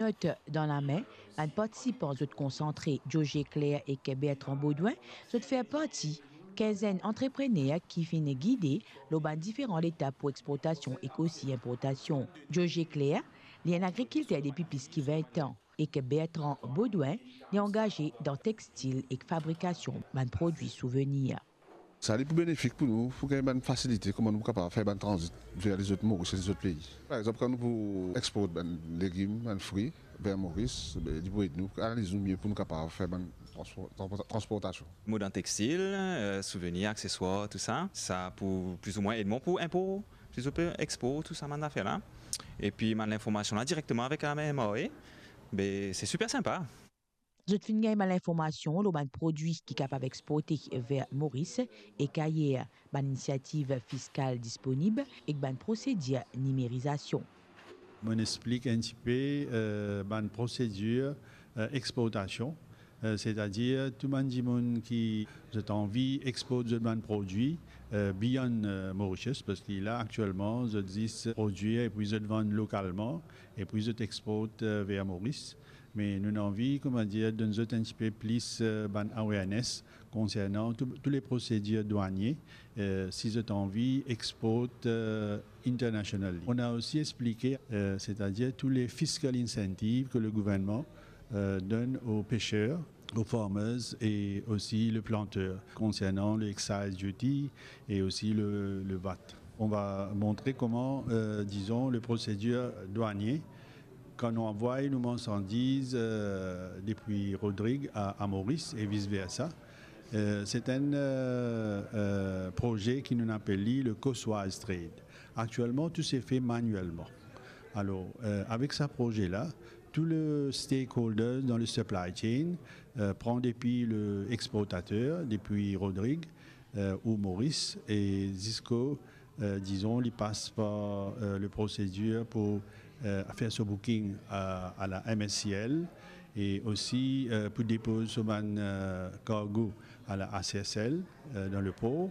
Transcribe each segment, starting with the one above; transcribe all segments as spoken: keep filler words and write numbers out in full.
Not dan lame, bann partisipan zot konsantre. Georges Leclerc ek Bertrand Baudouin, zot fer parti kinzenn antreprener ki finn gide lor bann diferan letap pou exportasion ek osi inportasion. Georges Leclerc, li enn agrikilter depi plis ki vin an, ek Bertrand Baudouin, li angaze dan textil ek fabrikasion bann prodwi souvenir. Sa li pou benefik pou nou, pou gagn bann fasilite, kouma nou pou kapav fer bann tranzit ver lezot Moris, lezot pei. Par exanp, kan nou pou export bann legim, bann fri ver Moris, be, li pou ed nou, analiz nou mie pou nou kapav fer bann transpor-, transpor-, transportasion. Mo dan textil, euh, souvenir, akseswar, tou sa, sa pou plis ou mwin ed mwa pou inpor, plis ou mwin export, tou sa bann zafer la. Epi bann linformasion la direkteman avek la M R A, be, se siper sinpa. Zot finn gagn bann linformasion lor bann prodwi ki kapav exporte ver Moris ek ayer, bann inisiativ fiskal disponib ek bann prosedir nimerizasion. Mo'nn explik enn tipe, euh, bann prosedir, euh, exportasion, euh, setadir tou bann dimoun ki zot anvi export zot bann prodwi, euh, beyond, euh, Mauritius, parski la aktielman zot zis prodwir epi zot vann lokalman, epi zot export, euh, ver Moris. Me nou anvi, kouma dir, donn zot enn tipe plis, euh, bann awareness konsernan tou, tou le prosedir dwanie, euh, si zot anvi export, euh, internationally. Nou osi explike, euh, setadir tou le fiscal incentive ke le gouvernman, euh, donn o peser, o farmers e osi le planter, konsernan le excise duty e osi le, le vat. Nou va montre kouma, euh, dizon, le prosedir dwanie, kan nou anvway nou marsandiz, euh, depi Rodrig a, a Moris e vis versa. Euh, se enn, euh, euh, proze ki nou apel li le coastwise trade. Aktielman, tou se fer manielman. Alor, euh, avek sa proze la, tou le stakeholders dan le supply chain, euh, pran depi le exportater, depi Rodrig, euh, ou Moris, e ziska, euh, dizon, li pas par, euh, le prosedir pou, euh, fer so booking a, a la M S C L e osi, euh, pou depoz so bann, euh, kargo a la H C S L, euh, dan le por,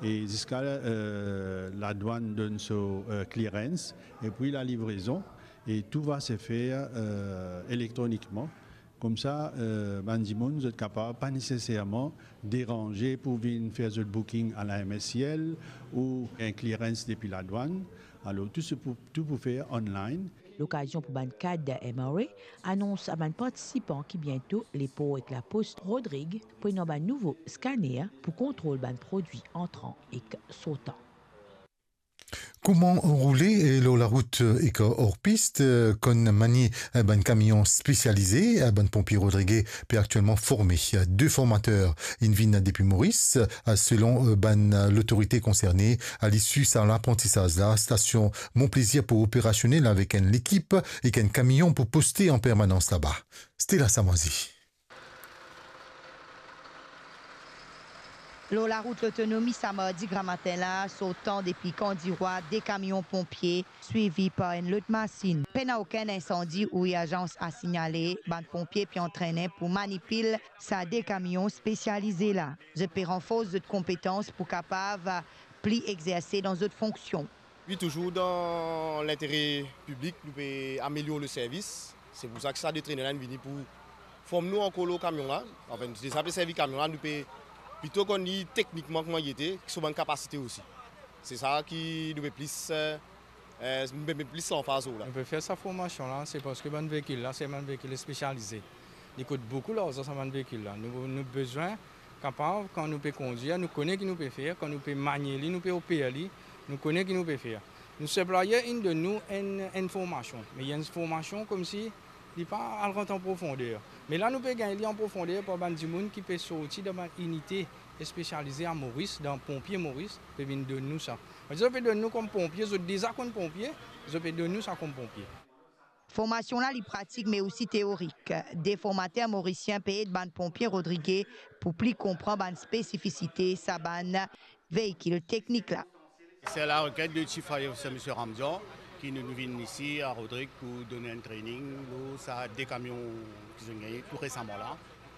e ziska, euh, ladwann donn so, euh, clearance, epi la livrezon, e tou va se fer, euh, elektronikman. Koumsa, euh, bann dimoun, zot kapav pa neseserman deranze pou vinn fer zot booking a la M S C L ou enn clearance depi ladwann. Alor, tou se pou, tou pou fer online. Lokazion pou bann kad M R A anons a bann partisipan ki biento lepor ek lapos Rodrig pou ena bann nouvo skaner pou kontrol bann prodwi antran ek sortan. Kouma roule, eh, lor larout, eh, ek or pis, eh, kouma manie, eh, bann kamion spesialize, eh, bann ponpie Rodrig pe aktielman forme. Eh, de formater inn vinn depi Moris, eh, selon, eh, bann, eh, lotorite konserne, a lisi sa laprantisaz la, stasion Mont Plaisir pou operasionel avek enn lekip ek enn kamion pou poste an permanans laba. Stella Samazi. Lor larout Lotonomi sa mardi gramatin la, sortan depi Kan Dirwa, de kamion ponpie, swivi par enn lot masinn. Pena okenn insandi ou irzans a signale, bann ponpie pe antrene pou manipil sa de kamion spesialize la. Zot pe ranfors zot konpetans pou kapav pli exerse dan zot fonksion. Wi, touzour dan lintere piblik, nou pe amelior le servis. Se pou sa ki sa de trainer la inn vini pou form nou ankor lor kamion la. Anfin, nou deza pe servi kamion la, nou pe plito konn li teknikman kouma li ete, ki so bann kapasite osi. Se sa ki nou pe plis, eh, eh, nou pe met plis lanfaz lor la. Nou pe fer sa formasion la, se parski bann veikil la, se bann veikil spesialize. Li kout boukou larzan sa bann veikil la. Nou, nou bizin kapav, kan nou pe kondwir, nou kone ki nou pe fer, kan nou pe manie li, nou pe oper li, nou kone ki nou pe fer. Nou sipliyer inn donn nou enn, enn formasion, me li enn formasion koumsi li pa al rant an profonder. Me la nou pe gagn li an profonder par bann dimoun ki pe sorti dan bann inite spesialize a Moris, dan ponpie Moris, pe vinn donn nou sa. Parski zot pe donn nou kom ponpie, zot deza konn ponpie, zot pe donn nou sa kom ponpie. Formasion la, li pratik, me osi teorik. De formater morisien pe ed bann ponpie Rodrig pou pli konpran bann spesifisite sa bann veikil teknik la. C'est à la requête de Chief Fire Officer, Monsieur Ramdian, ki nou, nou vinn isi a Rodrig pou donn enn training lor sa de kamion ki zot inn gagne tou resaman la.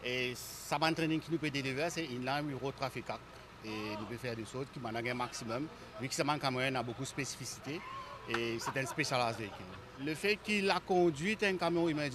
E sa bann training ki nou pe deliver, se in line with road traffic act. E nou pe fer de sort ki bann la gagn maximum, vi ki sa bann kamion ena boukou spesifisite, e se enn specialized veikil. Lefet ki lakondwit enn kamion emergency